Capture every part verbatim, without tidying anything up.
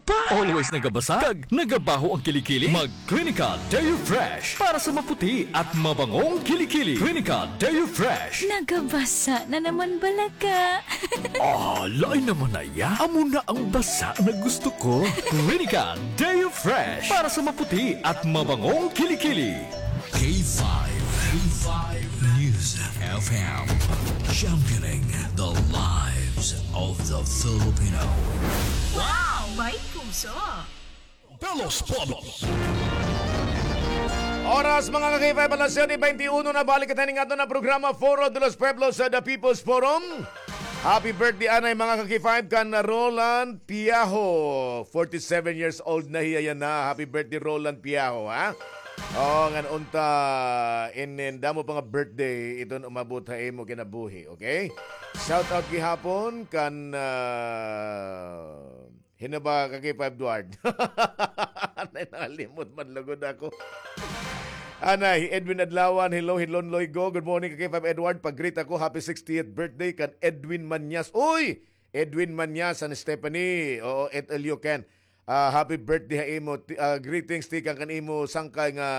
Always nagabasa kag nagabaho ang kilikili? Mag Clinica Deo Fresh para sa maputi at mabangong kilikili. Clinica Deo Fresh. Nagabasa na naman bala ka. Ah, lain naman na iya. Amo na ang basa na gusto ko. Clinica Deo Fresh para sa maputi at mabangong kilikili. K five, K five News F M, championing the lives of the Filipino. Wow! May puso! Pelos Pueblos. Oras, mga ka-K five, alas siyete beintiuno na. Balik kita ning aton na programa, Foro de los Pueblos, sa The People's Forum. Happy birthday anay, mga ka-K five, kan Roland Piaho. Forty-seven years old na hiya yana. Happy birthday, Roland Piaho, ha? Oh, ngan unta, inin damo pa nga birthday iton umabot ha imo kinabuhi, okay? Shout out gihapon kan, ah, hin-o ba, ka-K five Edward? Anay, nakalimot man lugod ako. Anay, hi Edwin Adlawan, hello, hi Lon Loigo. Good morning, ka-K five Edward. Pag-greet ako, happy sixtieth birthday kan Edwin Manyas. Uy! Edwin Manyas, San Stephanie. Oo, et Elio Ken. Ah, happy birthday ha imo. Ti-, ah, greetings tikang kan imo sangkay nga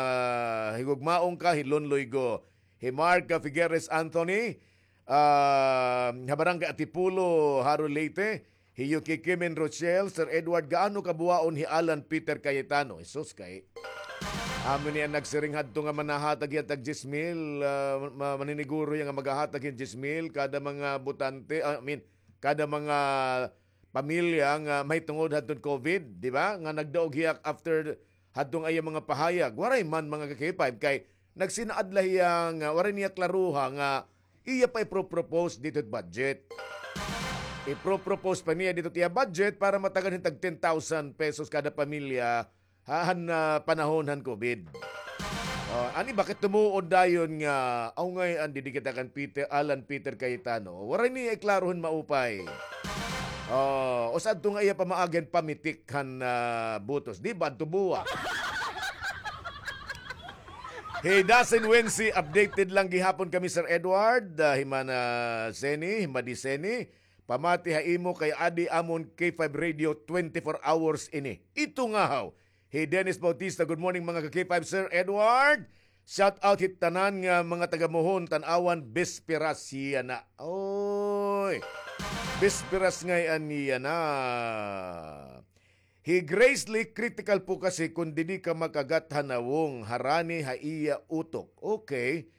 higugmaon ka, hi Lon Loigo. Hi Mark, ah, Figueres Anthony, ah, ha Barangay Atipulo, Jaro, Leyte. Hi Yuki Kimin Rochelle, Sir Edward, gaano kabuwaon hi Alan Peter Cayetano? Jesus, kay amo niya nagsiring hadto nga manahatag hiya tag diyes mil, ah, ma-, maniniguro hiya nga maghahatag hin diyes mil kada mga botante, ah, I mean, kada mga pamilya nga mahitungod hadton COVID, di ba? Nga nagdaog hiya after hadto nga iya mga pahayag. Waray man, mga ka-K five, kay nagsinaad la hiya nga waray niya klaruha nga iya pa ipro-propose didto budget. Ipro-propose pa niya didto iya budget para matagan hin tag ten thousand pesos kada pamilya ha, han, ah, panahon han COVID. Oh, an iba kay tumuod dayon nga, aw ngay-an, didi kita kan Peter, Alan Peter Cayetano. Waray niya iklaro hin maupay. Oh, usa adto nga iya pamaagi hin pamitik han, ah, botos. Di ba, adto buwa? Hi Dasin Wensi, updated lang gihapon kami, Sir Edward. Ah, hi Mana Seni, hi Madi Seni. Pamati ha imo kay adi amon K five Radio twenty-four hours ini. Ito nga haw. Hi Dennis Bautista, good morning, mga ka-K five, Sir Edward. Shout out hit tanan nga mga taga Mohon, Tanauan, Bisperas yana. Oy. Bisperas ngay-an yana. Hi Grace Lee, critical po kasi kung didi ka makagat ha nawong, harani ha iya utok. Okay.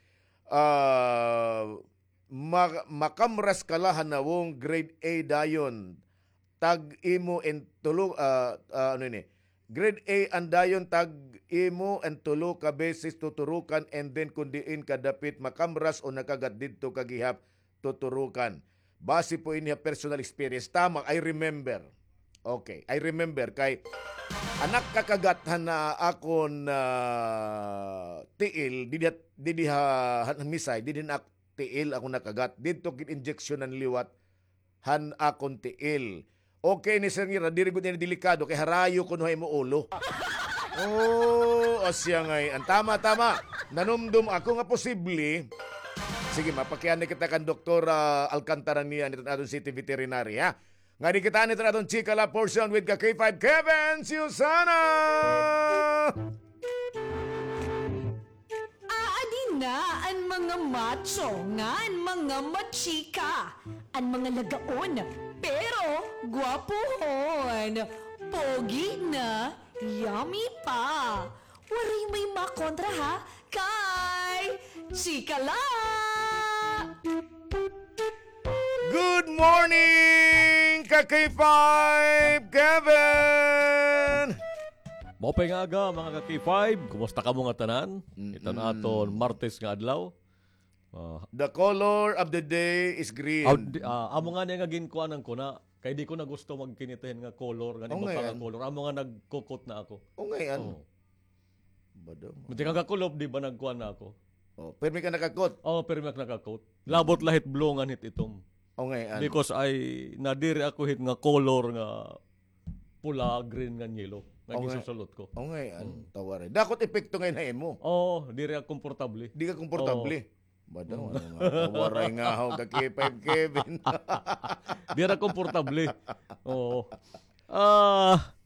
Ah, ma-, makamras ka la ha nawong, grade A dayon tag imo in tulo, ah, ah, ano ini? Grade A an dayon tag imo in tulo ka beses tuturukan, and then kun diin ka dapit makamras o nakagat didto ka gihap tuturukan. Base po ini ha personal experience. Tama, I remember. Okay, I remember kay an nakakagat han akon, ah, tiil, didi ha, didi ha, han, han Misay, didi han ak-, tiil ako nakagat. Didto gin-injeksyonan liwat han akon tiil. Okay ni Sir Ngira, diri gud ini delikado kay harayo kuno ha imo ulo. Oh, asya ngay-an. Tama, tama. Nanumdom ako nga posible. Sige, mapakiana kita kan Doktora Alcantara niyan, iton aton city veterinary, ha? Ngadi kita niton aton Chika La portion with ka K five Kevin Susana. Aadi na an mga macho ngan mga machika, an mga lagaon, pero gwapohon, pogi na, yummy pa. Waray may makontra, ha, kay Chika La! Good morning, ka K five Kevin! Maupay nga aga, mga ka K five. Kumusta kamo nga tanan? Mm-mm. Iton aton Martes nga adlaw. Ah, the color of the day is green. Aw, di, ah, amo ngani nga ginkuanan ko na. Kay di ko na gusto magkinitahin nga color, ngani butang nga color. Amo nga nagkukot na ako. O, ngay-an. Oo. Bado mo. Buti kagakulop, di ba nagkuan na ako? Oh, pirmi ka nakakot? Oo, pirmi ako nakakot. Labot la hit blue ngan hit itom. O, ngay-an. Because ay, nadiri ako hit nga color nga pula, green, ngan yellow. Nga gisusulot ko. O, ngay-an. Mm. Tawaray. Dakot epekto ngay-an ha imo. Oo, diri ako komportable. Di ka komportable? Oo. Bado, ano nga, waray nga haw ka K five Kevin. Diri ako komportable. Oo. Ah,